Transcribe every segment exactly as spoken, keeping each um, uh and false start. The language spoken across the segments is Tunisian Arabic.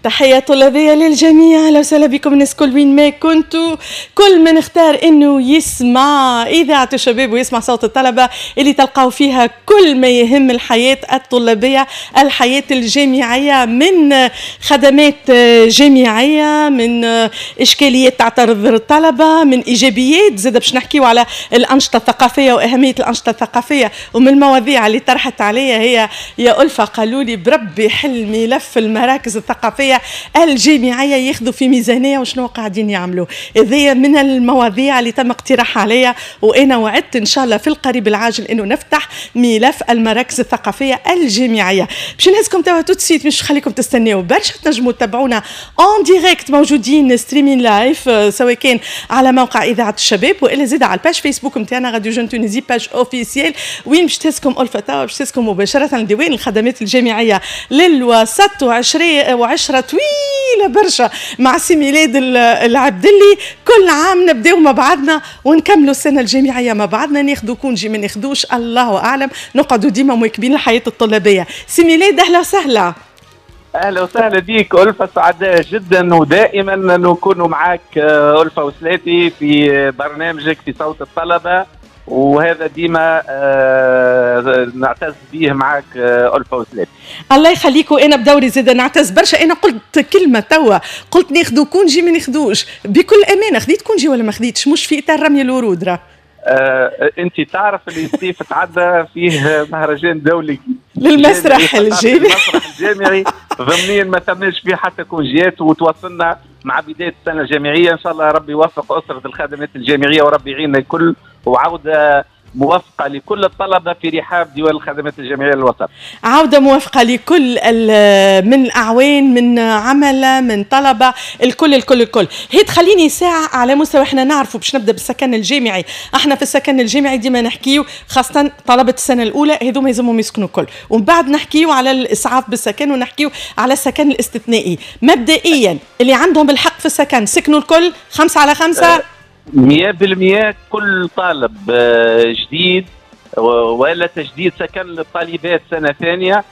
تحية طلابية للجميع، أهلا وسهلا بكم الناس كل وين ما كنتوا. كل من اختار انه يسمع إذاعة الشباب ويسمع صوت الطلبة اللي تلقاو فيها كل ما يهم الحياة الطلابية، الحياة الجامعية، من خدمات جامعية، من إشكاليات تعترض الطلبة، من إيجابيات، زاد باش نحكيو على الأنشطة الثقافية وأهمية الأنشطة الثقافية. ومن المواضيع اللي طرحت عليا هي يا ألفة، قالوا لي بربي حل ملف المراكز الثقافية الجامعية ياخذوا في ميزانية وشنو قاعدين يعملوا. هذه من المواضيع اللي تم اقتراحها عليا، وانا وعدت ان شاء الله في القريب العاجل انه نفتح ملف المراكز الثقافية الجامعية. باش نهزكم توا tout de suite، مش خليكم تستناو برشا، تنجموا تتابعونا en direct، موجودين streaming live سواء كان على موقع اذاعة الشباب والا زاد على ال page Facebook نتاعنا Radio Jeune Tunisie page officielle. وين باش تهزكم ألفة توا؟ باش تهزكم مباشرة لديوان الخدمات الجامعية للوسط، وعشرة طويلة برشا مع سي ميلاد العبدلي. كل عام نبداو مع بعضنا ونكملوا السنة الجامعية مع بعضنا، ناخذوا congé ما ناخذوش الله اعلم، نقعدوا ديما مواكبين الحياة الطلابيه. سي ميلاد اهلا وسهلا. اهلا وسهلا بك ألفة، سعداء جدا ودائما نكون معك ألفة وسلاتي في برنامجك في صوت الطلبة، وهذا ديما آه نعتز به معك آه ألفة وسلاتي. الله يخليك، وانا بدوري زاد نعتز برشا. انا قلت كلمة توا، قلت ناخذوا congé ما ناخذوش، بكل امانه خذيت congé ولا ما خذيتش؟ مش في اطار رمي الورود راه. آه انت تعرف اللي الصيف تعدى فيه مهرجان دولي للمسرح الجامعي، المسرح الجامعي ضمنيا ما ثماش فيه حتى congé ات، وتواصلنا مع بداية السنة الجامعية. ان شاء الله ربي يوفق اسره الخدمات الجامعية وربي يعيننا الكل، وعوده موافقة لكل الطلبة في رحاب ديوان الخدمات الجامعية للوسط. عوده موافقة لكل من اعوان، من عمله، من طلبه، الكل الكل الكل. هي تخليني ساعة على مستوى احنا نعرفوا باش نبدا بالسكن الجامعي. احنا في السكن الجامعي ديما نحكيو خاصة طلبه السنة الاولى هذوما يلزمهم يسكنوا الكل، ومن بعد نحكيو على الاسعاف بالسكن ونحكيو على السكن الاستثنائي. مبدئيا اللي عندهم الحق في السكن سكنوا الكل خمسة على خمسة؟ مية بالمية. كل طالب جديد ولا تجديد سكن للطالبات سنة ثانية،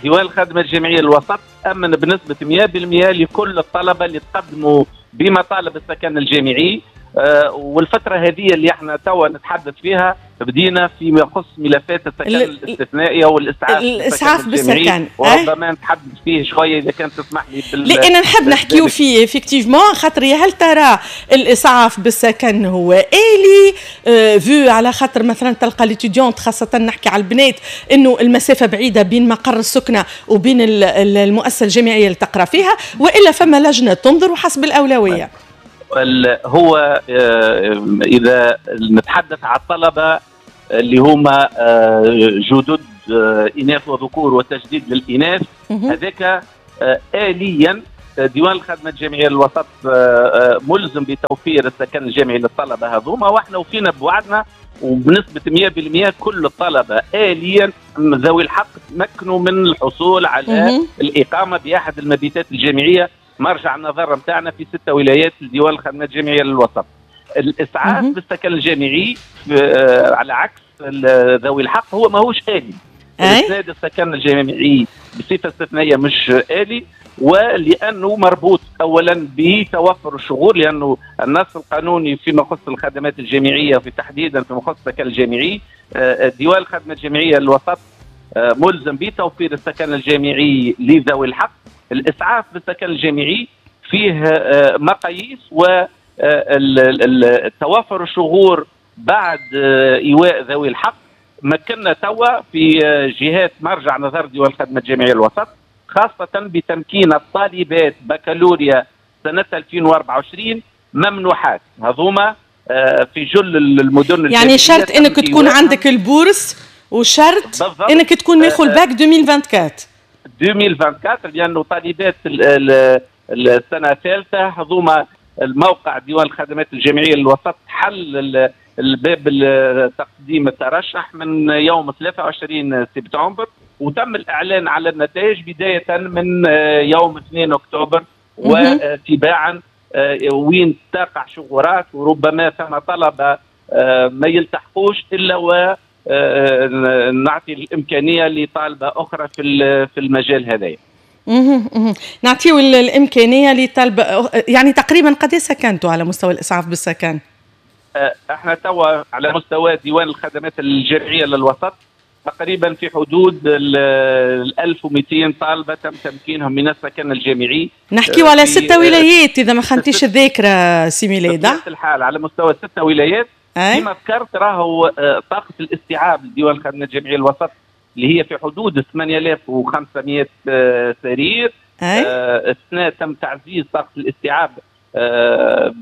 ديوان الخدمة الجامعية للوسط أمن بنسبة مية بالمية لكل الطلبة اللي تقدموا بمطالب السكن الجامعي. والفترة هذه اللي احنا توا نتحدث فيها بدينا فيما يخص ملفات السكن الاستثنائي والاسعاف الاسعاف بالسكن، وربما نتحدث فيه شوية اذا كان تسمح لي. بال... لان نحب نحكيو فيه effectivement، خاطر يا هل ترى الاسعاف بالسكن هو الي اه vu على خاطر مثلا تلقى les étudiantes، خاصة نحكي على البنات، انه المسافة بعيدة بين مقر السكنة وبين المؤسسة الجامعية اللي تقرا فيها، والا فما لجنة تنظر وحسب الاولوية. هو اذا نتحدث على الطلبة اللي هما جدد اناث وذكور وتجديد للاناث، هذاك اليا ديوان الخدمة الجامعية للوسط ملزم بتوفير السكن الجامعي للطلبة هذوما، واحنا وفينا بوعدنا وبنسبة مية بالمية كل الطلبة اليا ذوي الحق تمكنوا من الحصول على الاقامة باحد المبيتات الجامعية. مرجع النظر نتاعنا في ستة ولايات لديوان الخدمات الجامعية للوسط. الاسعاف بالسكن الجامعي على عكس ذوي الحق هو ماهوش آلي. اسناد السكن الجامعي بصفة استثنائية مش آلي، ولانه مربوط اولا بتوفر الشغور، لانه النص القانوني فيما يخص الخدمات الجامعية وفي تحديدا فيما يخص السكن الجامعي، ديوان الخدمة الجامعية للوسط ملزم بتوفير السكن الجامعي لذوي الحق. الاسعاف بالسكن الجامعي فيه مقاييس والتوافر الشغور بعد ايواء ذوي الحق. مكننا توا في جهات مرجع نظر ديوان الخدمة الجامعية للوسط، خاصة بتمكين الطالبات بكالوريا سنة ألفين وأربعة وعشرين ممنوحات هذوما في جل المدن. يعني شرط انك تكون عندك ال bourse، وشرط انك تكون ماخذ الباك ألفين وأربعة وعشرين. ألفين وأربعة وعشرين، لانه طالبات السنة الثالثة هذوما الموقع ديوان الخدمات الجامعية للوسط حل الباب تقديم الترشح من يوم ثلاثة وعشرين سبتمبر، وتم الاعلان على النتائج بداية من يوم اثنين اكتوبر وتباعا، وين تقع شغورات وربما ثم طلبه ما يلتحقوش الا و نعطي الامكانية لطالبه اخرى في في المجال هذايا. نعطيو الامكانية لطلب، يعني تقريبا قد سكنتوا على مستوى الاسعاف بالسكن؟ احنا توا على مستوى ديوان الخدمات الجامعية للوسط تقريبا في حدود ال ألف ومئتين طالبه تم تمكينهم من السكن الجامعي. نحكيو على ستة ولايات اذا ما خنتيش الذاكرة سي ميلاد. الحال على مستوى ستة ولايات كما ذكرت، راهو طاقة الاستيعاب لديوان الخدمات الجامعية الوسط اللي هي في حدود ثمانية آلاف وخمسمئة سرير. السنة تم تعزيز طاقة الاستيعاب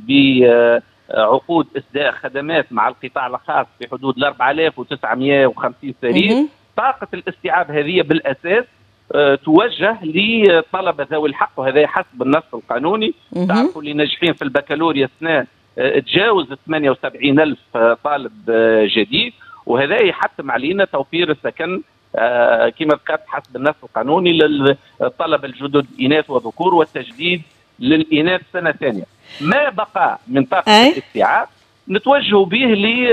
بعقود اسداء خدمات مع القطاع الخاص في حدود أربعة آلاف وتسعمئة وخمسين سرير. طاقة الاستيعاب هذه بالاساس توجه لطلبه ذوي الحق، وهذا حسب النص القانوني. تعرفوا اللي ناجحين في البكالوريا السنة تجاوز ثمانية وسبعين ألف طالب جديد، وهذا يحتم علينا توفير السكن كما ذكرت حسب النص القانوني للطلبة الجدد اناث وذكور، والتجديد للاناث سنة ثانية. ما بقى من طاقة الاستيعاب نتوجه به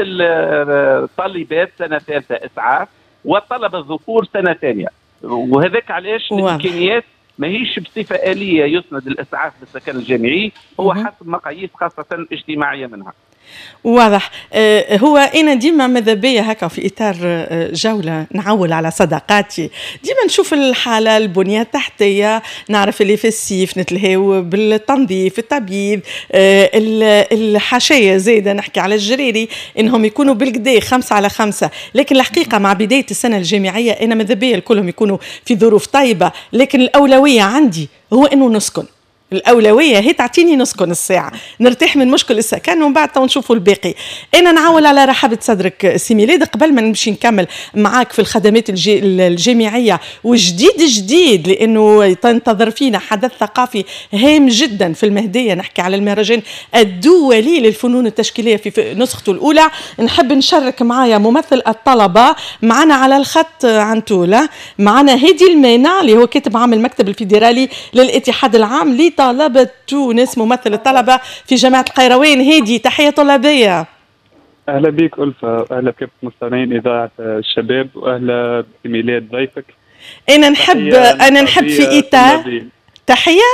للطالبات سنة ثالثة اسعاف والطلبة الذكور سنة ثانية، وهذاك علاش الامكانيات ماهيش بصفة اليه يسند الاسعاف بالسكن الجامعي، هو حسب مقاييس خاصة اجتماعية منها. واضح. هو انا ديما ماذا بيا هكا في اطار جولة نعول على صداقاتي، ديما نشوف الحالة البنية التحتية، نعرف اللي في السيف نتلهاو بالتنظيف التبييض، الحاشية زايدة نحكي على الجريري انهم يكونوا بالكدا خمسة على خمسة، لكن الحقيقة مع بداية السنة الجامعية انا ماذا بيا كلهم يكونوا في ظروف طيبة، لكن الاولوية عندي هو انه نسكن. الأولوية هي تعطيني نسكن الساعة، نرتاح من مشكل السكن ومن بعد تو نشوفوا الباقي. أنا نعول على رحابة صدرك سي ميلاد قبل ما نمشي نكمل معاك في الخدمات الجي الجامعية وجديد جديد، لأنه تنتظر فينا حدث ثقافي هام جدا في المهدية، نحكي على المهرجان الدولي للفنون التشكيلية في نسخته الأولى. نحب نشارك معايا ممثل الطلبة معنا على الخط عنتولة، معنا هادي المانع اللي هو كاتب عام المكتب الفيدرالي للاتحاد العام لطلبة تونس، ممثل الطلبة في جامعة القيروان. هادي تحية طلابية. أهلا بك ألفة، أهلا بك مستمعين إذاعة الشباب، وأهلا بميلاد ضيفك. أنا نحب أنا نحب في إطار تحية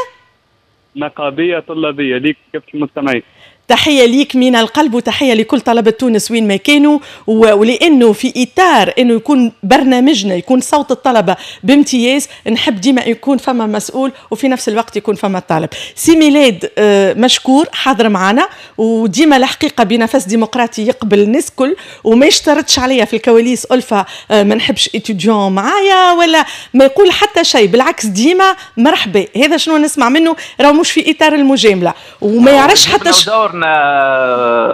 نقابية طلابية ليك كافة المستمعين. تحية ليك من القلب وتحية لكل طلبة تونس وين ما كانوا، ولأنه في إطار أنه يكون برنامجنا يكون صوت الطلبة بامتياز، نحب ديما يكون فما مسؤول وفي نفس الوقت يكون فما طالب. سي ميلاد مشكور حاضر معنا، وديما الحقيقة بنفس ديمقراطي يقبل الناس كل وما يشترطش عليا في الكواليس ألفة ما نحبش étudiant معايا ولا ما يقول حتى شيء، بالعكس ديما مرحبا. هذا شنو نسمع منه، راه مش في إطار المجاملة وما يعرفش حتى ش...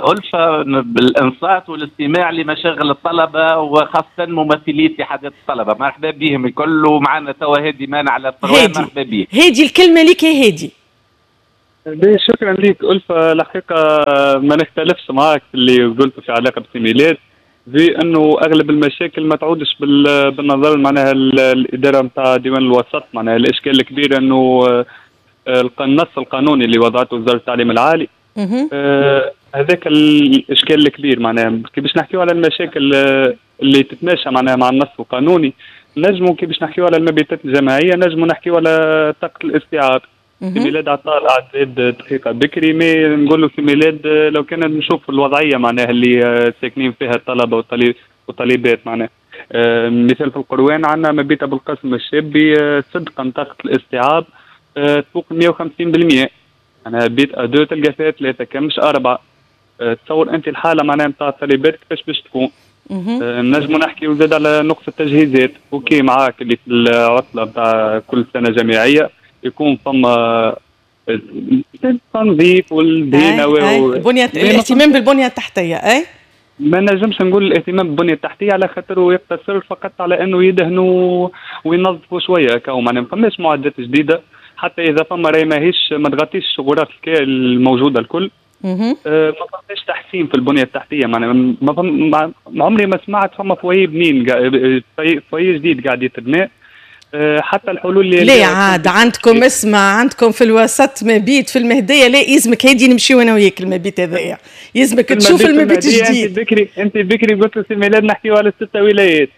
ألفة بالإنصات والاستماع لمشاغل الطلبة وخاصة ممثلي اتحادات الطلبة، مرحبا بهم الكل، ومعنا توا هادي مانع على الطروان، مرحبا به. هادي الكلمة لك يا هادي. شكرا لك ألفة، الحقيقة ما نختلفش معاك في اللي قلته في علاقة بسي ميلاد، في أنه أغلب المشاكل ما تعودش بالنظر معناها الإدارة نتاع ديوان الوسط، معناها الإشكال الكبير أنه النص القانوني اللي وضعته وزارة التعليم العالي آه هذاك الاشكال الكبير. معناها كي باش نحكيو على المشاكل اللي تتماشى معناها مع النص القانوني، نجمو كي باش نحكيو على المبيتات الجماعية، نجمو نحكيو على طاقة الاستيعاب. في ميلاد عطال عدد دقيقة بكري، mais نقولوا في ميلاد لو كان نشوف الوضعية معناها اللي ساكنين فيها الطلبة والطالبات، معناها آه مثال في القروان عندنا مبيته بالقسم الشابي صدقا طاقة الاستيعاب آه تفوق مئة وخمسين بالمئة، معناها بيت à deux تلقى فيها ثلاثة كان مش أربعة. أه تصور أنت الحالة معناها نتاع الطالبات كيفاش باش تكون. أه نجمو نحكيو زاد على نقص التجهيزات، OK معاك اللي في العطلة نتاع كل سنة جامعية يكون فما التنظيف والدهينة و... البنية، الاهتمام بالبنية التحتية. أي ما نجمش نقول الاهتمام بالبنية التحتية على خاطر يقتصر فقط على أنه يدهنوا وينظفوا شوية كاو، معناها ما فماش معدات جديدة، حتى اذا فما راهي ماهيش ما تغطيش غرف الموجودة الكل. آه ما فماش تحسين في البنية التحتية، معناها ما فم... ما عمري ما سمعت فما foyer بنين foyer جديد قاعد يتبنى. آه حتى الحلول اللي لا عاد عندكم اسمع، عندكم في الوسط مبيت في المهدية، لا يلزمك هادي نمشيو انا وياك المبيت هذايا، يلزمك تشوف المبيت الجديد. انت بكري انت بكري قلت سي ميلاد نحكيو على ستة ولايات،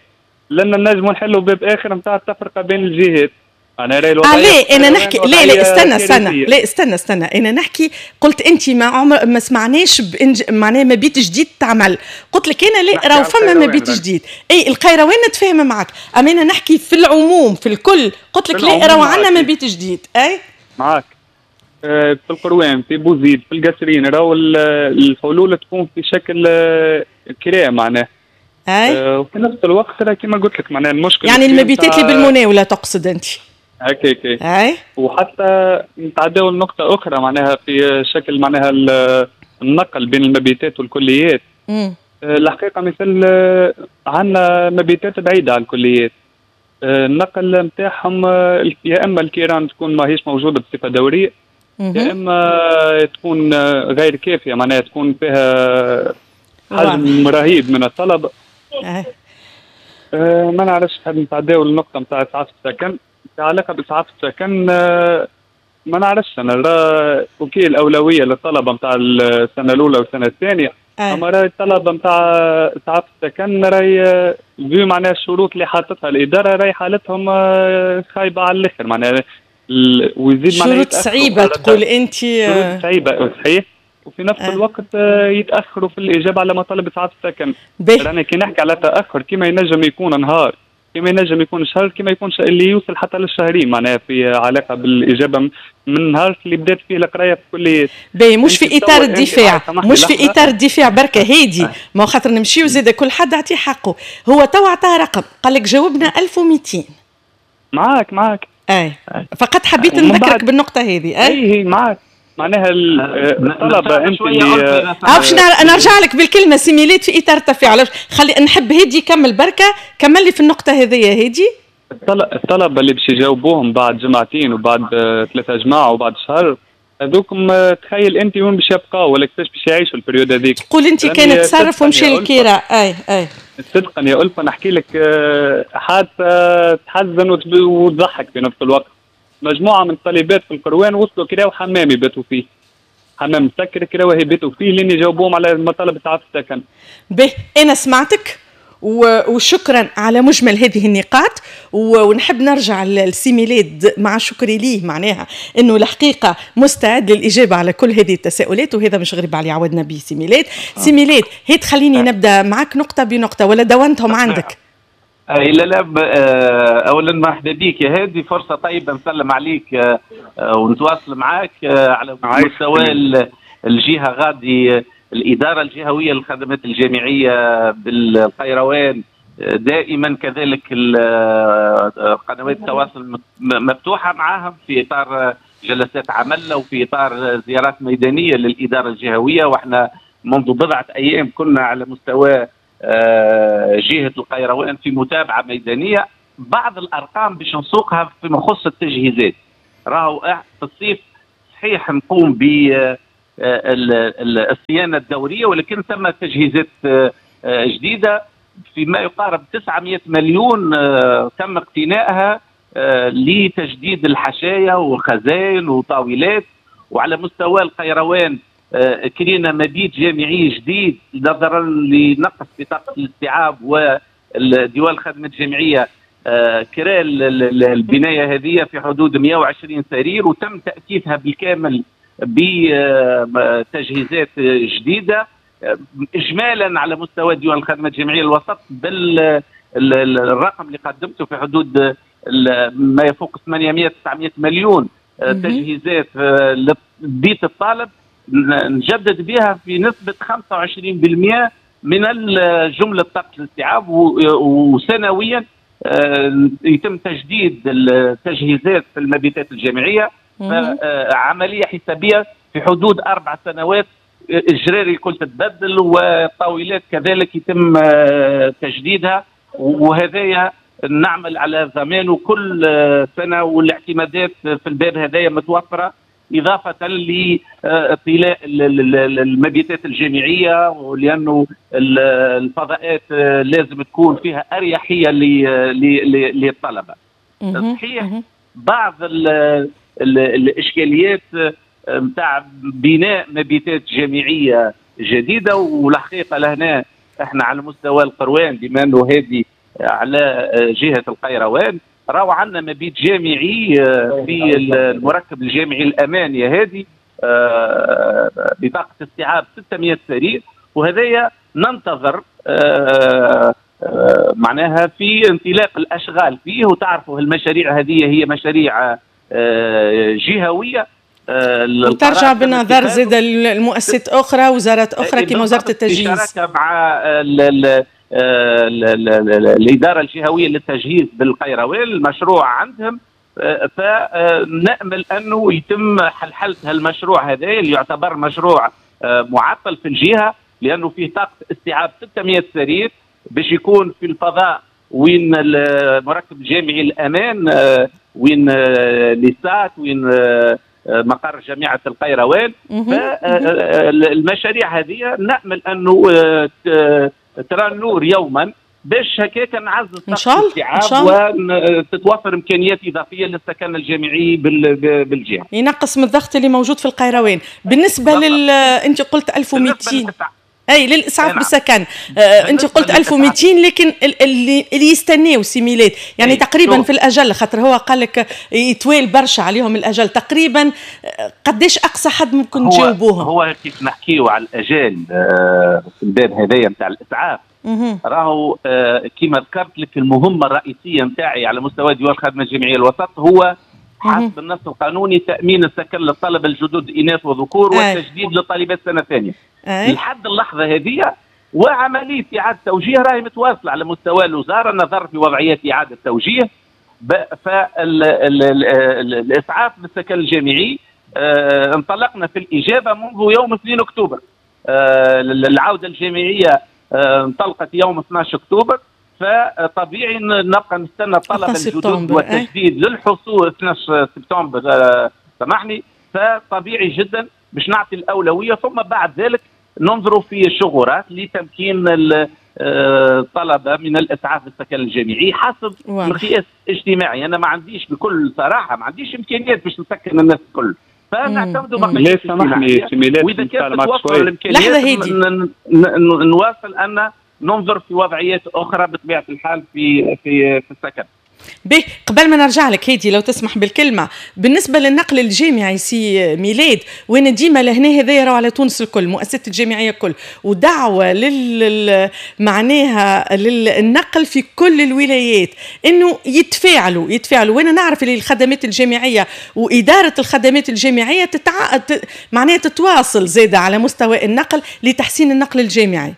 لان نجموا نحلوا باب اخر نتاع التفرقة بين الجهات. انا راي الوضعية آه لا انا نحكي لا لا استنى استنى لا استنى استنى انا نحكي قلت انت ما عمر ما سمعناش بإنج... معناها مبيت جديد تعمل، قلت لك انا لا راهو فما مبيت جديد. اي القيروان نتفاهم معك، اما انا نحكي في العموم في الكل، قلت لك لا راهو عندنا مبيت جديد. اي معك في القروان، في بوزيد، في القصرين، راهو الحلول تكون في شكل كراء معناه. اي وفي نفس الوقت راه كما قلت لك معناها المشكل يعني المبيتات اللي بالمناوله تقصد انت؟ هكاك. اي وحتى نتعداو لنقطة أخرى معناها في شكل معناها النقل بين المبيتات والكليات. مم. الحقيقة مثل عندنا مبيتات بعيدة على الكليات، النقل نتاعهم يا إما الكيران تكون ماهيش موجودة بصفة دورية، يا إما تكون غير كافية معناها تكون فيها حجم رهيب من الطلبة. أه. أه ما نعرفش نحب نتعداو للنقطة نتاع إسعاف السكن. في علاقة بإسعاف السكن ما نعرفش أنا راه OK الأولوية للطلبة نتاع السنة الأولى والسنة الثانية، أما راهي الطلبة نتاع إسعاف السكن راهي vu معناها الشروط اللي حاطتها الإدارة راهي حالتهم خايبة على الآخر معناها، ويزيد معناها شروط صعيبة تقول أنت. شروط صعيبة صحيح، وفي نفس أه. الوقت يتاخروا في الاجابة على مطالب اسعاف السكن. رانا كي نحكي على تاخر كما ينجم يكون نهار، كما ينجم يكون شهر، كما يكون اللي يوصل حتى للشهرين معناها في علاقة بالاجابة من نهار اللي بدات فيه القراية في الكليات. باهي مش في اطار الدفاع، مش في اطار الدفاع بركة هادي، ما خاطر نمشيو زاد كل حد عطية حقه. هو تو عطاه رقم قال لك جاوبنا ألف ومئتين. معاك معاك اي فقط حبيت نذكرك بالنقطة هذه. اي اي معاك معناها الطلبة انت اللي باش نرجع لك بالكلمة سي ميلاد في اطار التفاعل، خلي نحب هادي يكمل بركة، كمل لي في النقطة هذيا هادي. الطلبة اللي باش يجاوبوهم بعد جمعتين وبعد ثلاثة جماعة وبعد شهر هذوكم تخيل انت وين باش يبقاو ولا كيفاش باش يعيشوا ال période هذيك. تقول انت كان تصرف ومشى للكراء. اي اي صدقا يا ألفة نحكي لك حادثه تحزن وتضحك في نفس الوقت. مجموعة من الطالبات في القروان وصلوا كراو حمام يباتوا فيه، حمام مسكر كراوه يباتوا فيه لين يجاوبوهم على مطالب اسعاف السكن. به انا سمعتك وشكرا على مجمل هذه النقاط، ونحب نرجع لسي ميلاد مع شكري ليه معناها انه الحقيقة مستعد للاجابة على كل هذه التساؤلات، وهذا مش غريب عليه عودنا به سي ميلاد. سي ميلاد هي تخليني نبدا معك نقطة بنقطة ولا دونتهم عندك؟ اي لا لا اولا مرحبا بك يا هادي، فرصة طيبة نسلم عليك ونتواصل معك على مستوى الجهة غادي. الادارة الجهوية للخدمات الجامعية بالقيروان دائما كذلك قنوات التواصل مفتوحة معاهم في اطار جلسات عمل وفي اطار زيارات ميدانية للادارة الجهوية، واحنا منذ بضعة ايام كنا على مستوى جهة القيروان في متابعة ميدانية. بعض الأرقام باش نسوقها فيما يخص التجهيزات، راهو في الصيف صحيح نقوم بالصيانة الدورية، ولكن ثم تجهيزات جديدة فيما يقارب تسعمئة مليون تم اقتنائها لتجديد الحشايا والخزائن وطاولات. وعلى مستوى القيروان كرينا مبيت جامعي جديد نظرا لنقص بطاقة الاستيعاب والديوان الخدمة الجامعية كرا البناية هذه في حدود مئة وعشرين سرير، وتم تأسيسها بالكامل بتجهيزات جديدة. إجمالا على مستوى ديوان الخدمة الجامعية الوسط بل الرقم اللي قدمته في حدود ما يفوق ثمانمئة تسعمئة مليون تجهيزات لبيت الطالب نجدد بها في نسبة خمسة وعشرين بالمئة من جملة طاقة الاستيعاب، وسنويا يتم تجديد التجهيزات في المبيتات الجامعية. عملية حسابية في حدود أربع سنوات الجراري الكل تتبدل والطاولات كذلك يتم تجديدها، وهذايا نعمل على ضمانه كل سنة، والاعتمادات في الباب هذايا متوفرة، إضافة لطلاء المبيتات الجامعية، ولأنه الفضاءات لازم تكون فيها أريحية للطلبة. صحيح بعض الإشكاليات نتاع بناء مبيتات جامعية جديدة، والحقيقة لهنا احنا على مستوى القروان بما أنه هذه على جهة القيروان راهو عندنا مبيت جامعي في المركب الجامعي الامان يا هادي بطاقة استيعاب ستمائة سرير، وهذايا ننتظر معناها في انطلاق الاشغال فيه. وتعرفوا المشاريع هذه هي مشاريع جهويه وترجع بالنظر زاد المؤسسات اخرى، وزارات اخرى كما وزارة التجهيز، بشراكه مع ال ال ال ال الادارة الجهوية للتجهيز بالقيروان، المشروع عندهم. فنامل انه يتم حلحله هالمشروع هذا اللي يعتبر مشروع معطل في الجهة، لانه فيه طاقة استيعاب ستمائة سرير باش يكون في الفضاء وين المركب الجامعي الامان، وين ليسات، وين مقر جامعه القيروان. فالمشاريع هذه نامل انه ترى النور يوما باش هكاك نعزز طاقة الاستيعاب وتتوفر امكانيات اضافية للسكن الجامعي بالجهة، ينقص من الضغط اللي موجود في القيروان. بالنسبة لل انت قلت ألف ومئتين اي للاسعاف نعم. بالسكن آه، انت قلت ألف ومئتين، لكن اللي اللي يستناو سي ميلاد يعني أي. تقريبا شو. في الاجل، خاطر هو قال لك يتوالي برشا عليهم الاجل، تقريبا قداش اقصى حد ممكن تجاوبوهم؟ هو كيف نحكيو على الاجال آه في الباب هذايا نتاع الاسعاف، راهو آه كما ذكرت لك المهمة الرئيسية نتاعي على مستوى ديوان الخدمة الجامعية الوسط هو حسب النص القانوني تامين السكن للطلبة الجدد اناث وذكور والتجديد للطالبات سنة ثانية. لحد اللحظة هذه وعملية اعاده توجيه راهي متواصلة على مستوى الوزارة، النظر في وضعيات اعاده توجيه. فالاسعاف بالسكن الجامعي آه انطلقنا في الاجابة منذ يوم اثنين اكتوبر. آه العودة الجامعية آه انطلقت يوم اثناش اكتوبر، فطبيعي نبقى نستنى الطلبة الجدد والتجديد للحصول اثناش سبتمبر آه سامحني. فطبيعي جدا باش نعطي الاولوية، ثم بعد ذلك ننظر في الشغورات لتمكين الطلبة من الاسعاف بالسكن الجامعي حسب مقياس اجتماعي. انا ما عنديش بكل صراحة ما عنديش امكانيات باش نسكن الناس الكل، فنعتمدوا مقاييس اجتماعية. واذا كانت تتوفر الامكانيات نواصل ان ننظر في وضعيات اخرى بطبيعة الحال في في في السكن. به قبل ما نرجع لك هادي لو تسمح بالكلمة، بالنسبة للنقل الجامعي سي ميلاد، وين ديما لهنا هذا راهو على تونس الكل، مؤسسات الجامعية الكل، ودعوة لل معناها للنقل في كل الولايات انه يتفاعلوا يتفاعلوا. وانا نعرف اللي الخدمات الجامعية واداره الخدمات الجامعية تتع... معناها تتواصل زاده على مستوى النقل لتحسين النقل الجامعي.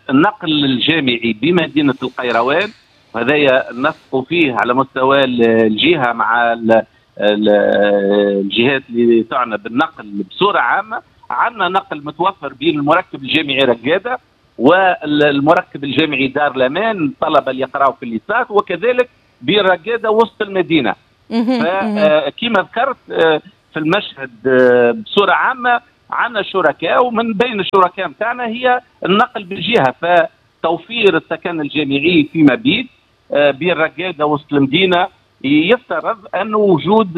النقل الجامعي بمدينة القيروان هذايا نثق فيه على مستوى الجهة مع الجهات اللي تعنى بالنقل بصورة عامة. عندنا نقل متوفر بين المركب الجامعي رقاده والمركب الجامعي دار الامان، الطلبة اللي يقراوا في الليسات، وكذلك بين رقاده وسط المدينة. فكما ذكرت في المشهد بصورة عامة عندنا شركاء، ومن بين الشركاء نتاعنا هي النقل بالجهة، فتوفير السكن الجامعي في مبيت بين رقاده وسط المدينة يفترض انه وجود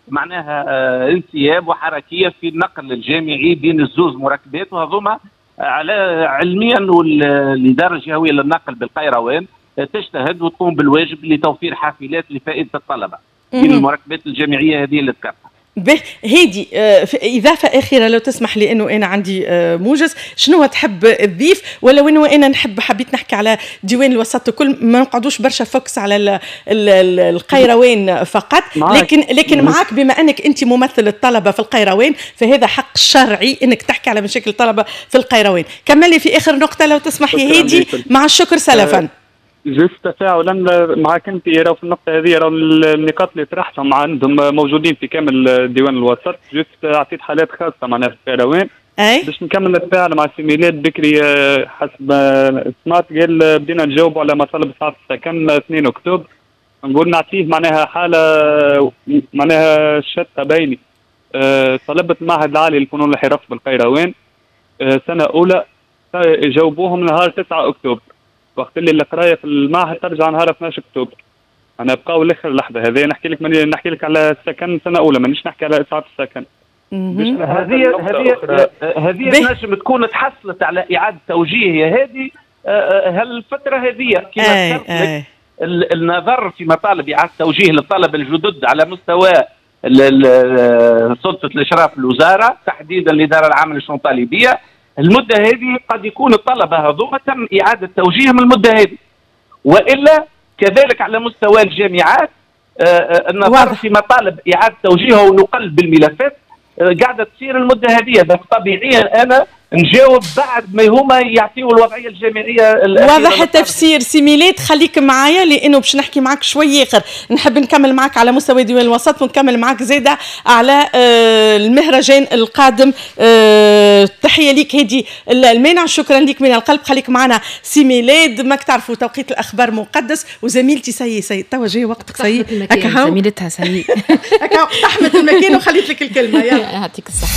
معناها انسياب وحركيه في النقل الجامعي بين الزوز مركبات. وهذوما على علميا انه الادارة الجهوية للنقل بالقيروان تجتهد وتقوم بالواجب لتوفير حافلات لفائدة الطلبة بين المركبات الجامعية هذه اللي ذكرتها. به هادي إضافة أخيرة لو تسمح لي، أنه أنا عندي موجز، شنو تحب تضيف؟ ولو أنه أنا نحب حبيت نحكي على ديوان الوسط الكل، ما نقعدوش برشا focus على ال ال القيروان فقط، لكن لكن معاك بما أنك أنت ممثل الطلبة في القيروان فهذا حق شرعي أنك تحكي على مشاكل الطلبة في القيروان. كملي في آخر نقطة لو تسمح يا هادي، مع الشكر سلفا. juste تفاعلا معك انت، راهو في النقطة هذه راهو النقاط اللي طرحتهم عندهم موجودين في كامل ديوان الوسط، juste عطيت حالات خاصة معناها في القيروان. باش نكمل نتفاعل مع سي ميلاد بكري، حسب ما سمعت قال بدينا نجاوبوا على مطالب اسعاف السكن اثنين اكتوبر، نقول نعطيه معناها حاله معناها شتى بيني. طلبة المعهد العالي للفنون والحرف بالقيروان سنة اولى جاوبوهم نهار تسعة اكتوبر، وقت اللي القراية في المعهد ترجع نهار اثناش اكتوبر. انا بقاو لاخر لحظة هذه نحكي لك ماني نحكي لك على السكن سنة اولى، مانيش نحكي على اسعاف السكن. هذه هذه هذه نجم تكون تحصلت على اعاده توجيه يا هادي هالفترة هذه كما ذكرت لك. النظر في مطالب اعاده توجيه للطلبة الجدد على مستوى سلطة الاشراف الوزارة، تحديدا الادارة العامة للشؤون الطالبيه، المدة هذه قد يكون الطلبة هذوما تم اعاده توجيههم المدة هذه. والا كذلك على مستوى الجامعات آه، آه، النظر واضح. في مطالب اعاده توجيهه ونقل بالملفات آه، قاعدة تصير المدة هذه. طبيعيا انا نجاوب بعد ما هما يعطيوا الوضعية الجامعية. واضح التفسير. سي ميلاد، خليك معايا لانه باش نحكي معك شوي اخر، نحب نكمل معك على مستوى ديوان الوسط ونكمل معك زاده على آه، المهرجان القادم. آه، تحية ليك هادي المانع، شكرا لك من القلب، خليك معنا سي ميلاد. ماك تعرفوا توقيت الاخبار مقدس، وزميلتي ça y est ça y est توا جاي وقتك ça y est. زميلتها ça y est اقتحمت المكان وخليت لك الكلمه. يلا يعطيك الصحه.